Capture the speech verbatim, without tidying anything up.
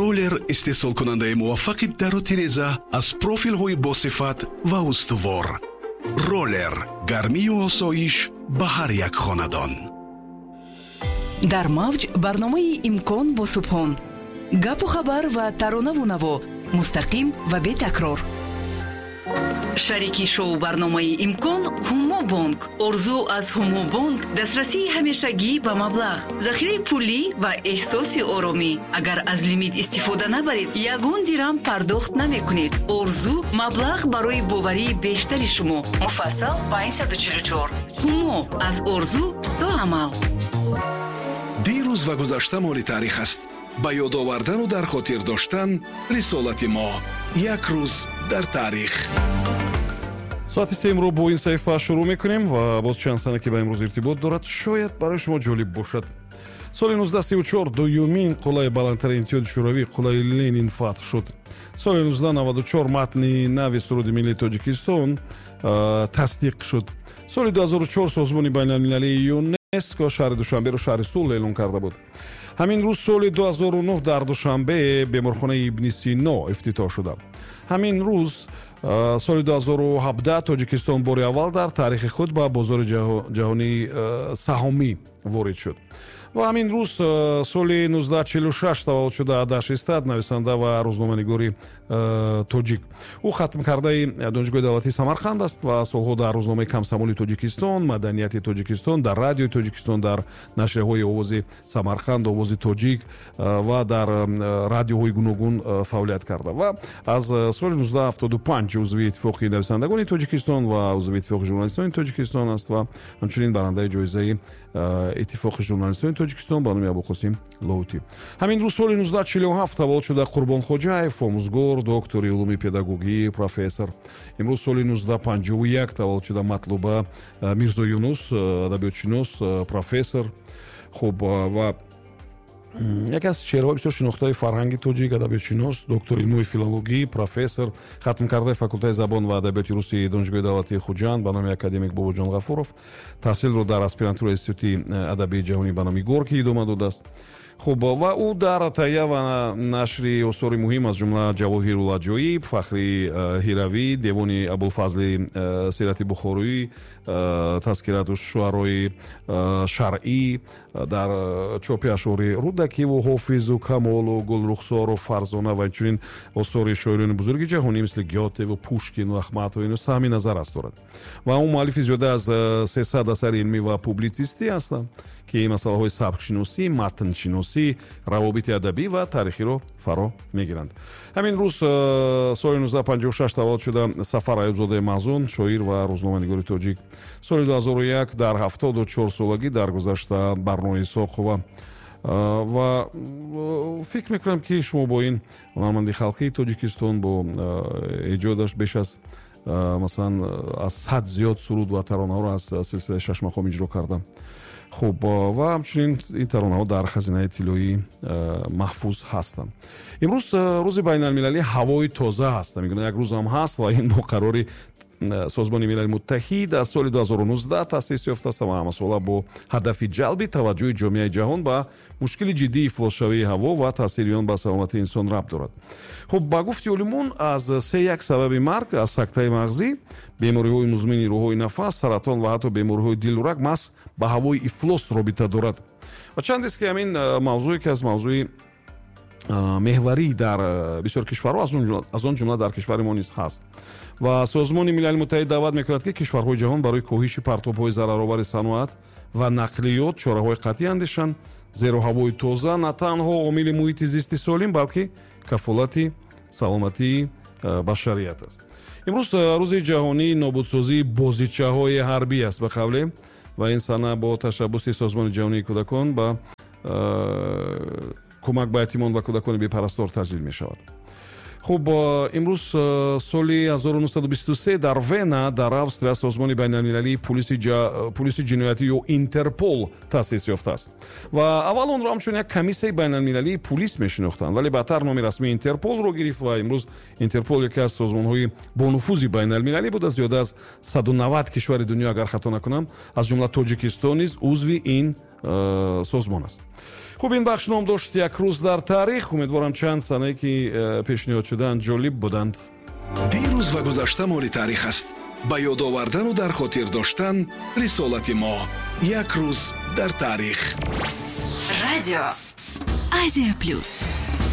Роллер истеҳсолкунандаи муваффақи дару тиреза аз профилҳои босифат ва устувор. Роллер гармию осоиш ба ҳар як хонадон. Дар мавҷ барномаи «Имкон» бо Субҳон. Гапу хабар ва таронаву наво мустақим ва бетакрор. Шарики шоу барномаи «Имкон» Ҳумобонк. Орзу аз Ҳумобонк дастрасии ҳамешагӣ ба маблағ, захираи пулӣ ва эҳсоси оромӣ. Агар аз лимит истифода набаред, ягон дирам пардохт намекунед. Орзу маблағ барои боварии бештари шумо. Муфассал панҷсаду чилу чор. Ҳумо аз орзу то амал. Дирӯз ва гузашта моли таърих аст. Ба ёд овардану дар хотир доштан рисолати мо. Як рӯз дар таърих. Соати сеимро бо ин саҳифа шурӯъ мекунем ва боз чанд сана, ки ба имрӯз иртибот дорад, шояд барои шумо ҷолиб бошад. Соли нуздаҳ сию чор дуюмин қуллаи баландтарини Иттиҳоди Шӯравӣ, қуллаи Ленин, фатҳ шуд. Соли нуздаҳ наваду чор матни нави суруди миллии Тоҷикистон тасдиқ шуд. Соли ду ҳазору чор созмони байналмилалии ЮНЕСКО шаҳри Душанберо шаҳри сулҳ эълон карда буд. Ҳамин рӯз соли ду ҳазору нӯҳ дар Душанбе беморхонаи Ибни Сино ифтитоҳ шуда. Ҳамин рӯз соли ду ҳазору ҳабдаҳ Тоҷикистон бори аввал дар таърихи худ ба бозори ҷаҳонии саҳомӣ ворид шуд. Ва ҳамин рӯз соли нуздаҳ чилу шаш таваллуд шуда Адаш Истад, нависанда ва рӯзноманигори тоҷик. Ӯ хатмкардаи Донишгоҳи давлатии Самарқанд аст ва солҳо дар рӯзномаи «Комсомоли Тоҷикистон», «Маданияти Тоҷикистон», дар Радиои Тоҷикистон, дар нашрияҳои «Овози Самарқанд», «Овози тоҷик» ва дар радиоҳои гуногун фаъолият карда ва аз соли нуздаҳ ҳафтоду панҷ узви Иттифоқи нависандагони Тоҷикистон ва узви Иттифоқи журналистони Тоҷикистон аст ва ҳамчунин барандаи ҷоизаи Иттифоқи журналистони Тоҷикистон ба номи Абуқосим Лоҳутӣ. Ҳамин рӯз соли нуздаҳ чилу ҳафт таваллуд шуда Қурбон Хоҷаев, омӯзгор, доктори улуми педагогӣ, профессор. Имрӯз соли нуздаҳ панҷоҳу як таваллуд шуда Матлуба Мирзоюнус, адабиётшинос, профессор. Хуб, ва яке аз чеҳраҳои бисёр шинохтаи фарҳанги тоҷик, адабиётшинос, доктори илмҳои филологӣ, профессор, хатмкардаи факултаи забон ва адабиёти русии Донишгоҳи давлатии Хуҷанд ба номи академик Бобоҷон Ғафуров. Таҳсилро дар аспирантураи Институти адабии ҷаҳонӣ ба номи Горкий идома додааст. Хуб, ва ӯ дар таҳия ва нашри осори муҳим, аз ҷумла Ҷавоҳирул аҷоиб, Фахри э, Ҳиравӣ, Девони Абулфазли э, Сирати Бухороӣ, э, Тазкирату шуарои шаръӣ, дар чопи ашъори Рӯдакиву Ҳофизу Камолу Гулрухсору Фарзона ва инчунин осори шоирони бузурги ҷаҳонӣ, мисли Гётеву Пушкину Ахматова, ино саҳми назаррас дорад. Ва ӯ муаллифи зиёда аз сесад асари илмӣ ва публитсистӣ ҳастанд, ки масъалаҳои сабкшиносӣ, матншиносӣ, равобити адабӣ ва таърихиро фаро мегиранд. Ҳамин рӯз соли нуздаҳ панҷоҳу шаш таваллуд шуда Сафар Аюбзодаи Маҳзун, шоир ва рӯзноманигори тоҷик. Соли ду ҳазору як дар ҳафтоду чор солагӣ даргузашта Барно Исоқова. Ва фикр мекунам, ки шумо бо ин ҳунарманди халқии Тоҷикистон бо эҷодаш беш аз, масалан, аз сад зиёд суруд ва таронаҳоро аз силсилаи шашмақом иҷро кардам. Хуб, ва ҳамчунин ин таронаҳо дар хазинаи тиллоӣ маҳфуз ҳастанд. Имрӯз рӯзи байналмилалии ҳавои тоза ҳаст. Мегӯянд, як рӯзам ҳаст ва ин бо қарори Созмони Милали Муттаҳид аз соли ду ҳазору нуздаҳ таъсис ёфтааст ва ҳамасола бо ҳадафи ҷалби таваҷҷӯҳи ҷомеаи ҷаҳон ба мушкили ҷиддии ифлосшавии ҳаво ва таъсири он ба саломатии инсон рабт дорад. Хуб, ба гуфти олимон, аз се як сабаби марг аз сактаи мағзӣ, бемориҳои музмини роҳҳои нафас, саратон ва ҳатто бемориҳои дилу раг маҳз ба ҳавои ифлос робита дорад. Ва чандест, ки ҳамин мавзӯе, ки аз мавзӯи меҳварӣ дар бисёр кишварҳо, аз он ҷумла дар кишвари мо низ ҳаст. Ва Созмони Милали Муттаҳид даъват мекунад, ки кишварҳои ҷаҳон барои коҳиши партобҳои зараровари саноат ва нақлиёт чораҳои қатъӣ андешанд, зеро ҳавои тоза на танҳо омили муҳити зисти солим, балки кафолати саломатии башарият аст. Имрӯз рӯзи ҷаҳонии нобудсозии бозичаҳои ҳарбӣ аст, ба қавле, ва ин сана бо ташаббуси Созмони ҷаҳонии кӯдакон ба кӯмак ба ятимон ва кӯдакони бепарастор таҷлил мешавад. Хуб, имрӯз соли ҳазору нӯҳсаду бисту се дар Вена, дар Австрия, созмони байналмилалии пулиси ҷиноятӣ ё Интерпол таъсис ёфтааст. Ва аввал онро ҳамчун як комиссияи байналмилалии пулис мешинохтанд, вале баъдтар номи расмии Интерполро гирифт. Ва имрӯз Интерпол яке аз созмонҳои бонуфузи байналмилалӣ буда, зиёда аз саду навад кишвари дунё, агар хато накунам, аз ҷумла Тоҷикистон низ узви ин Созмон аст. Хуб, ин бахш ном дошт «Як рӯз дар таърих». Умедворам, чанд санае, ки пешниҳод шудаанд, ҷолиб буданд. Дирӯз ва гузашта моли таърих аст. Ба ёд овардану дар хотир доштан рисолати мо. Як рӯз дар таърих. Радио Азия Плюс.